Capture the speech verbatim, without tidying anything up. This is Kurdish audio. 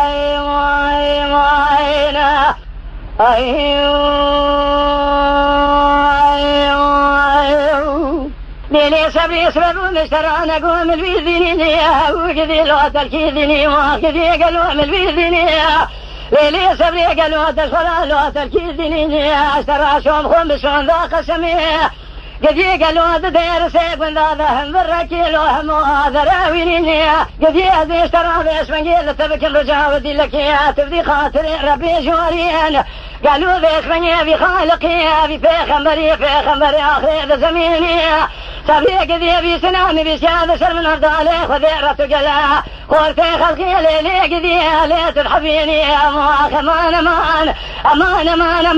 Ay, ay, ay, ne. Ay, ay, ay. Lê, lê, sebrê, sebrê, bû mişterane, go min vî dînî niye, û gidî lo telkî dînî, wa gidî gelo min vî dînî. Lê, lê, sebrê, gelo te xora lo telkî dînî niye, ez te ra şom xwe bi şonda qesemê. Gidî gelo di dêr sê gunda de hem vir rekî lo hemo azere wînî niye. Gidî ez ê ji te ra vêşmengê li te bikim rica û dîlekê, tu vî xatirê Rebê jorîn. Gelo vêşmengê vî xaliqê, vî pêxemberî, pêxemberê axirê di zemînî. Sebrê gidî vî sinamî vî şiya di şer min hevdalê Xwedê re tu gele. Xortê xelkê lê lê gidî lê tu dihebînî. Eman, eman, eman, eman, eman, eman.